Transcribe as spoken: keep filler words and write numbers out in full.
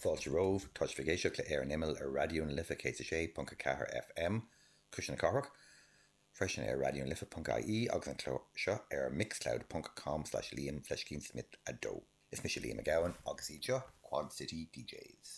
Fáilte romhaibh tá sibh ag éisteacht le Ar an Imeall ar Raidió na Life céad sé ponc ceathair FM Cuisle na Cathrach, freisin ar Raidió na Life.ie agus an clár seo ar mixcloud.com slash Liam fleiscín Smith a dó. Is mise Liam Mac Gabhann agus iad seo Quad City DJs.